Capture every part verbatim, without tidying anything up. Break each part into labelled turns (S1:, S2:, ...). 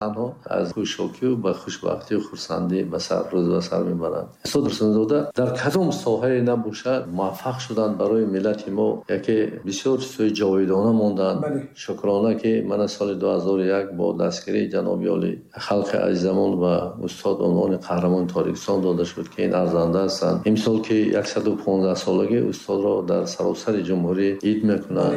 S1: Танҳо аз хушокӣ ва хушбахтӣ ва хурсандӣ ба сар рӯз ба сар мебаранд. Устод Турсунзода дар кадом соҳае набошад муваффақ шуданд барои миллати мо, яке бисёр чизҳои ҷовидона монданд. Шукрона ки мана соли ду ҳазору як бо дастгирии ҷаноби олӣ халқи азизамон ва устод унвони қаҳрамони Тоҷикистон дода шуд, ки ин арзанда ҳастанд. Имсол ки яксаду понздаҳ солагии устодро дар саросари ҷумҳурӣ ид мекунанд,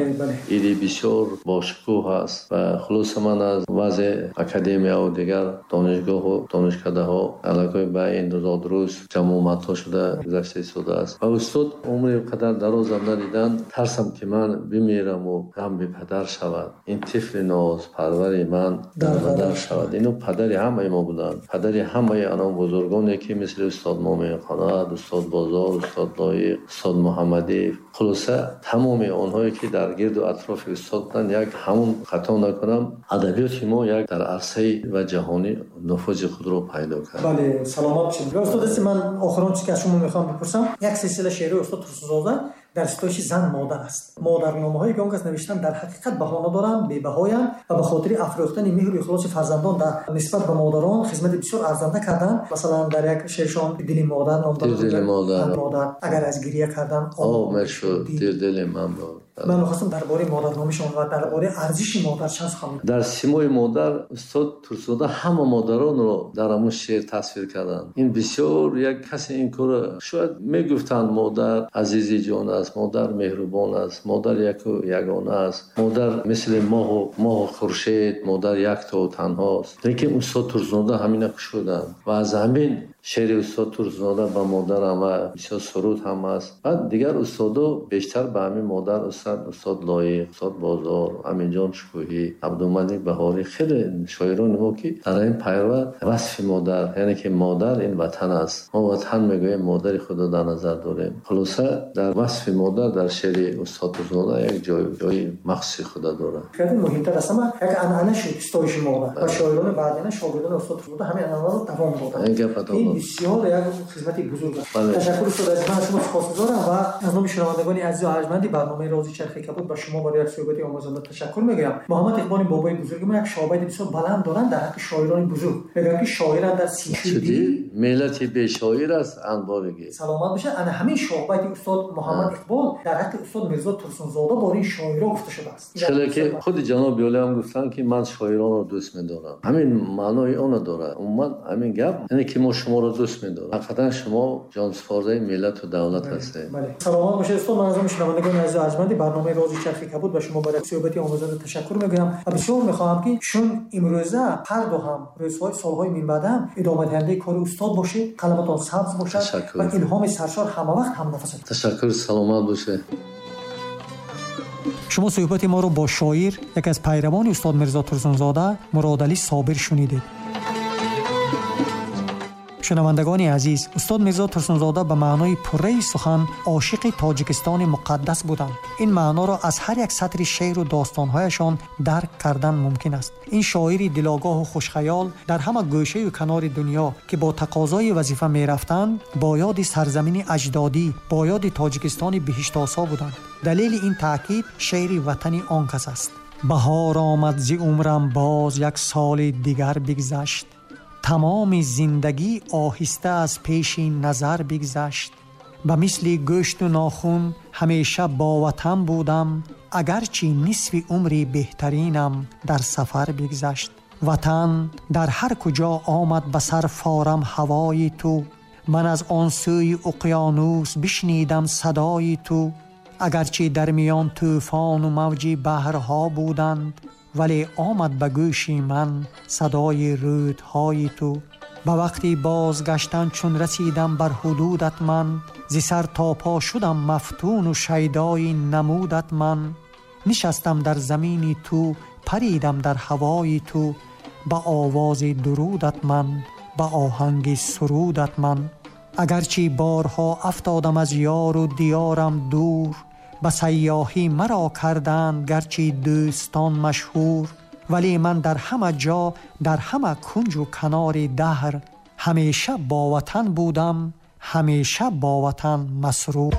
S1: иди бисёр бошукӯҳ аст ва хулоса ман аз вазъи академия ва дигар донишгоҳу донишкадаҳо аллакай ба ин зодрӯз ҷамъомадҳо шуда гузашта истодааст ва устод умри қадар дарозам надиданд. Тарсам ки ман бимираму ғам бепадар шавад, ин тифли нозпарвари ман дарбадар шавад. Ино падари ҳамаи мо буданд, падари ҳамаи анон бузургоне ки мисли устод Момин Қаноат, устод Бозор, устод Лоиқ, устод Муҳаммадиев, хулоса тамоми онҳое ки дар гирду атрофи устод буданд. Як ҳамун хато накунам, адабиёти мо як дар арсаи ва ҷаҳонӣ нуфузи худро пайдо кард.
S2: Бале, саломат бошед. Устод, дасти ман охирон чизе ки аз шумо мехоҳам бипурсам, як силсила шеърҳои устод Турсунзода дар ситоиши зан модар аст. Модарномаҳое ки он кас навиштанд дар ҳақиқат баҳо надоранд, бебаҳоянд ва ба хотири афрӯхтани меҳру ихлоси фарзандон дар нисбат ба модарон хизмати бисёр арзанда карданд. Масалан, дар як шеършон «Дили модар» ном дорад.
S1: Дили модар.
S2: Модар агар аз гиря кардан
S1: об мешуд, дили ман буд.
S2: Ман мехостам дар бораи модарномашон ва дар бораи арзиши модар чанд сухан бигӯям.
S1: Дар симои модар устод Турсунзода ҳама модаронро дар ҳамон шеър тасвир карданд. Ин бисёр як касе ин корро шояд мегуфтанд: модар азизи ҷон аст, модар меҳрубон аст, модар яку ягона аст, модар мисли моҳу моҳу хуршед, модар яктову танҳост. Лекин устод Турсунзода ҳамина кушоданд ва аз ҳамин шеъри устод Турсунзода ба модарам ва бисёр суруд ҳам аст. Баъд дигар устодо бештар ба ҳамин модар, устод устод Лоиқ, устод Бозор, Аминҷон Шукӯҳӣ, Абдумалик Баҳорӣ, хеле шоирони мо ки дар ин пайва васфи модар, яъне ки модар ин ватан аст. Мо ватан мегӯем, модари худро дар назар дорем. Хулоса дар васфи модар дар шеъри устод Турсунзода як ҷой ҷои махсуси худа дорад.
S2: Хеле муҳимтар аст, ама як анъана шуд ситоиши модар ва шоирони баъдина, шогирдони устод Турсунзода ҳамин анъанаро давом доданд.
S1: Ин гап
S2: ин бисёр як хизмати бузург аст. Ташаккур устод азиз, ман аз шумо сипосгузорам ва аз номи шунавандагони азизу арҷманди барномаи Рози Чархи Кабуд ба шумо барои як суҳбати омӯзанда ташаккур мегӯям. Муҳаммад Иқболи бобои бузурги мо як шоҳбайти бисёр баланд доранд дар ҳаққи шоирони бузург. Мегӯянд ки шоиран дар сичудӣ
S1: миллати бешоир аст анборигӣ.
S2: Саломат бошад. Ана ҳамин шоҳбайти устод Муҳаммад Иқбол дар ҳаққи устод Мирзо Турсунзода бораи шоиро гуфта шудааст.
S1: Чаро ки худи ҷаноби олӣ ҳам гуфтанд ки ман шоиронро дӯст медорам. Ҳамин маънои онро дорад. Умуман ҳамин гап яъне ки мо шуморо дӯст медорем. Ҳақиқатан шумо ҷонсупордаи миллату давлат ҳастед.
S2: Саломат бошед устод. Ман аз номи шунавандагони азизу арҷманди барномаи Рози Чархи Кабуд ба шумо барои суҳбати омӯзанда ташаккур мегӯям ва бисёр мехоҳам ки чун имрӯза ҳар ду ҳам рӯзҳои солҳои минбаъд ҳам идомадиҳандаи кори устод бошед, қаламатон сабз бошад ва илҳоми саршор ҳамавақт ҳамнафасатон.
S1: Ташаккур, саломат бошед.
S2: Шумо суҳбати моро бо шоир, яке аз пайравони устод Мирзо Турсунзода, Муродалӣ Собир шунидед. Шунавандагони азиз, устод Мирзо Турсунзода ба маънои пурраи сухан ошиқи Тоҷикистони муқаддас буданд. Ин маъноро аз ҳар як сатри шеъру достонҳояшон дарк кардан мумкин аст. Ин шоири дилогоҳу хушхаёл дар ҳама гӯшаю канори дунё ки бо тақозои вазифа мерафтанд, бо ёди сарзамини аҷдодӣ, бо ёди Тоҷикистони биҳиштосо буданд. Далели ин таъкид шеъри ватани он кас аст. Баҳор омад зи умрам боз як соли дигар бигзашт, тамоми зиндагӣ оҳиста аз пеши назар бигзашт. Ба мисли гӯшту нохун ҳамеша бо ватан будам, агарчи нисфи умри беҳтаринам дар сафар бигзашт. Ватан дар ҳар куҷо омад ба сар форам ҳавои ту, ман аз он сӯи уқёнус бишнидам садои ту. Агарчи дар миён тӯфону мавҷи баҳрҳо буданд, вале омад ба гӯши ман садои рӯдҳои ту. Ба вақти бозгаштан чун расидам бар ҳудудат ман, зи сар то по шудам мафтуну шайдои намудат ман. Нишастам дар замини ту, паридам дар ҳавои ту, ба овози дурудат ман, ба оҳанги сурудат ман. Агарчи борҳо афтодам аз ёру диёрам дур, ба сайёҳӣ маро карданд гарчи дӯстон машҳур. Вале ман дар ҳама ҷо, дар ҳама кунҷу канори даҳр, ҳамеша бо ватан будам, ҳамеша бо ватан масрур.